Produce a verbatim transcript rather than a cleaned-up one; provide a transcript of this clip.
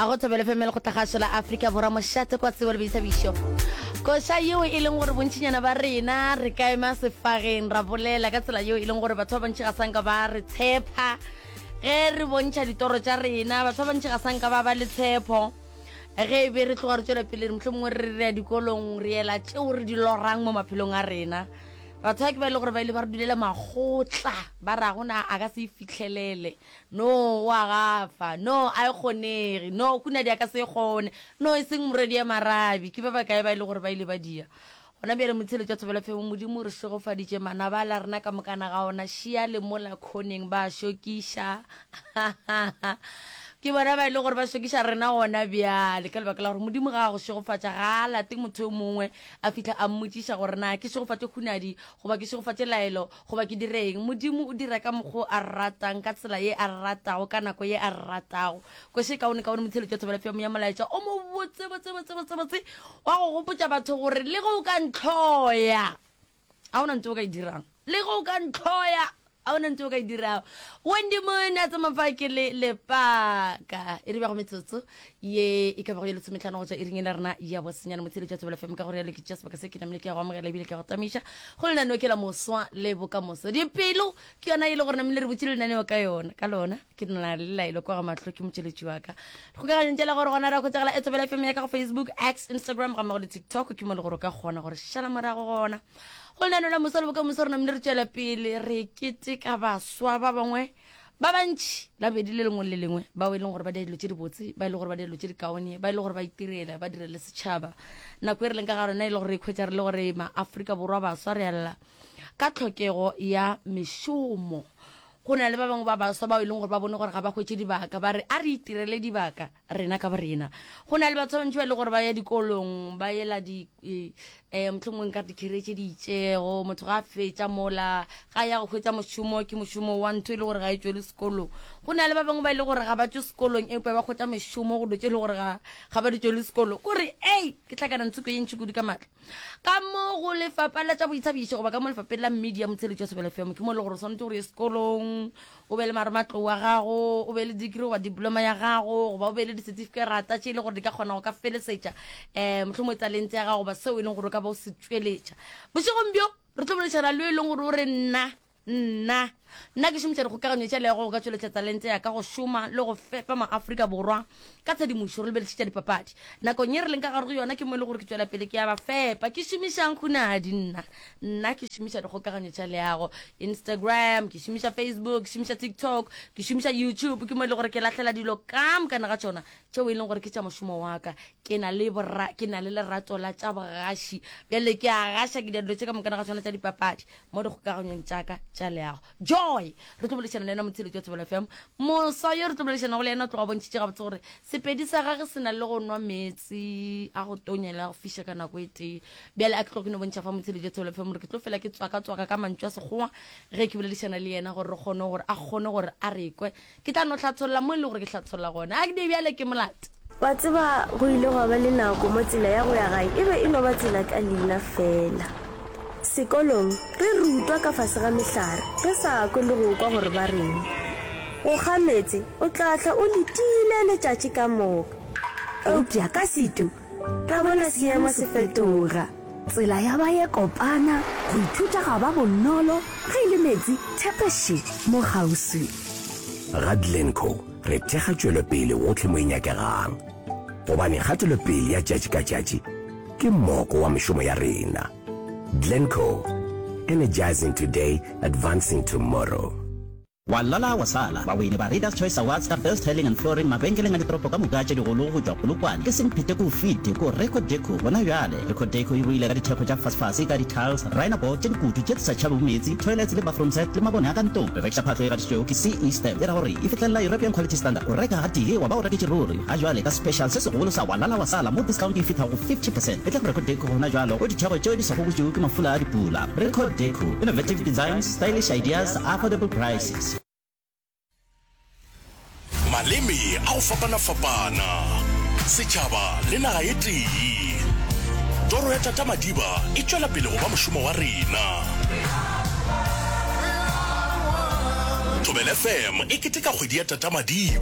A go Thobela F M lekgotlakgašo la Afrika Borwa mošate kwa tsebo le boithabišo. Koša yeo e leng gore bontšinyana ba rena re ka ema sefageng ra bolela ka tsela yeo e leng gore batho ba bantši ga sanka ba re tshepa ge re bontšha ditoro tša rena, batho ba bantši ga sanka ba ba le tshepo ge e be re tloga re tšwela pele re mohlomongwe re re ya dikolong re ela tšeo re di lorang mo maphelong a rena. Batho ba ke ba e le gore ba ile ba re dulela makgotla ba ra gona a ka se e fihlelele, no wa gafa, no a e kgonege, no kuna di a ka se e kgone, no e seng morwedi ya marabi. Ke ba bakae ba e le gore ba ile ba dia gona bjale motsheletšo wa Thobela F M? Modimo re šegofaditše manaba a la rena ka mokana ga ona šia le mola khoneng ba šokiša. Ke bona ba e le gore ba šokiša rena gona bjale ka lebaka la gore Modimo ga a go šegofatša ga a late motho yo mongwe a fihla a mmotšiša gore na ke šegofatše Hunadi goba ke šegofatše Laelo goba ke direng. Modimo o dira ka mokgo a ratang, ka tsela ye a ratago, ka nako ye a ratago. Koše kaone kaone motsheletšo wa Thobela F M ya molaetša o mo botse botse botse botse botse wa go gopotša batho gore le ge o ka ntlhoya a ona ntho o ka e dirang, le ge o ka ntlhoya a ona ntho o ka e dirago. Wendy Moon a tsama fa ke le lepaka e re bago metsotso ye e ka bago ye lesometlhano go tšwa iring e la rena ya bosenyane motsheletšo wa Thobela F M. Ka gore yalo ke tšea sebaka se ke namile ke ya go amogela ebile ke ya go tamiša go lenaneo ke la moswa le bokamoso. Dipelo ke yona e le gore namile re botse lenaneo ka yona ka lona ke na le laelo kwa ga mahlo ke motšweletši wa ka kgokaganyong tšela gore gona ra kgotsagala e Thobela F M ya ka go Facebook, X, Instagram ga mmogo le TikTok ke mo le gore o ka kgona gore šala morago gona go lenaneo la moswa le bokamoso. Re namile re tšwela pele re keteka baswa ba bangwe ba bantši labedi le lengwe le lengwe bao e leng gore ba dira dilo tše dibotse, ba e leng gore ba dira dilo tše dikaone, ba e leng gore ba itirela ba direle setšhaba. Nako e re leng ka ga rona e le gore re ikhwetša re le gore maAfrika Borwa baswa re lla ka tlhokego ya mešomo. Go na le ba bangwe ba baswa bao e leng gore ba bone gore ga ba hwetše dibaka, ba re a re itirele dibaka rena ka borena. Go na le batho ba bantši ba e leng gore ba ya dikolong ba ela di um mohlomongwe nka re di-career tše di itšego, motho ga a fetša mola ga ya go hwetša mošomo ke mošomo wa ntho e le gore ga e tšwele sekolong. Go na le ba bangwe ba e le gore ga ba tšwe sekolong empa ba hwetša mešomo go dilo tše e le gore ga ga ba di tšwele sekolong. Kore ei ke hlakana ntshoko ye ntši kudu ka maatla ka mo go lefapha la tša boithabišo goba ka mo lefapheng la media motsheletšo wa Thobela F M ke mo e le gore o swanetše gore ye sekolong o be le marematlou wa gago, o be le degree goba diploma ya gago, goba o be le di-certificate tše e le gore di ka kgona go ka felesetša um mohlomongwe talente ya gago goba seo e leng gore o ka ba o se tšweletša. Bošegong bjo re tlo boledišana le yo e leng gore o re nna nna nna ke šomiša dikgokaganyo tša leago go ka tšweletša talente ya ka go šoma le go fepa maAfrika Borwa ka tshedimošo. Re lebelešitša dipapadi nakong ye re leng ka gare go yona ke mo e le gore ke tšwela pele ke ya ba fepa. Ke šomišang Hunadi? Nna nna ke šomiša dikgokaganyo tša leago, Instagram, ke šomiša Facebook, ke šomiša TikTok, ke šomiša YouTube, ke mo e le gore ke lahlela dilo ka mokana ga tšona tšeo e leng gore ke tša mošomo wa ka. Ke na le bora, ke na le lerato la tša bogaši, bjale ke a gaša ke dira dilo tše ka mokana ga tšona tša dipapadi mo dikgokaganyong tša ka tša leago. Joy re tlo boledišana le yena motsheletši wa Thobela F M. Moswa yo re tlo boledišanago le yena o tloga bontšhitše gabotse gore sepedi sa gage se na le go nwa meetse a go tonya le a go fiša ka nako e tee. Bjale a ke tlo ke no bontšha fa motsheletši wa Thobela F M gore ke tlo fela ke tswaka-tswaka ka mantšu a Sekgowa ge ke boledišana le yena gore re kgone gore a kgone gore a re kwe. Ke tla no hlatholla mo e le gore ke hlatholla gona. A ke di bjale ke molate. Wa tseba, go ile gwa ba le nako mo tsela ya go ya gae e be e no ba tsela ka leina feela. Sekolong re rutwa ka fase ga mehlare, re sa kwe le go kwa gore ba reng. Go kga meetse o tla hlwa o letile letšatši ka moka. Eupša ka setu ra bona seemo se fetoga. Tsela ya ba ye kopana, go ithuta ga ba bonolo, ge e le meetse, thepeše mo kgauswi. Ga Glencoe re thekga tšwelopele gohle mo e nyakegang, gobane kgatelopele ya tšatši ka tšatši ke moko wa mešomo ya rena. Glencoe, energizing today, advancing tomorrow. Wa lala wa sala. Bawini ba Readers Choice Awards ka Best Tiling and Flooring mabenkeleng a ditoropo ka moka tše digolo go tšwa Polokwane ke Semphete ko Fite ko Reco Deco gona bjale. Reco Deco e boile ka dithekgo tša fasefase ka di-tiles, rhino board tše dikutu tše di sa tšhabego meetse, toilets le bathroom set le mabone a ka ntlong. Re rekiša phahlo e gatišitšwego ke C E Stamp e ra gore e fihlelela European Quality Standard. O reka gatee wa ba o reketše ruri. Ga jwale ka special se segolo sa wa lala wa sala mo discount e fihla go fifty percent. Etla go Reco Deco gona jwalo go ditheko tšeo di sa gobotšwego ke mafula a dipula. Reco Deco, innovative designs, stylish ideas, affordable prices. Maleme a go fapana-fapana, setšhaba le naga e tee. Toro ya Tata Madiba e tšwela pele go ba mošomo wa rena. Thobela F M e keteka kgwedi ya Tata Madiba.